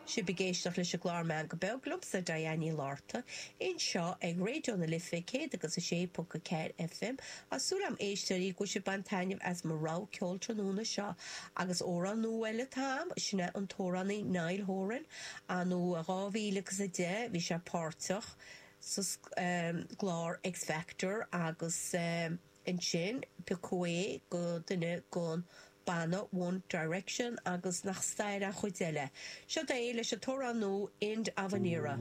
Sibh ag éisteacht leis an gclár Meangadh Beag liomsa, Diane Ní Fhlatharta, anseo ag Raidió na Life 106.4 FM. Tá súil agam, a éisteoirí, go bhfuil sibh ag baint taitneamh as mo rogha ceoil tráthnóna seo agus amhrán nua eile atá agam, sin é an t-amhránaí Niall Horan. Anno 2010 bhí sé páirteach sa gclár X Factor agus. Ansin, piocadh é go duine gon banna One Direction agus nach stair an chuid eile. Seo é leis an t-amhrán nua End of an Era.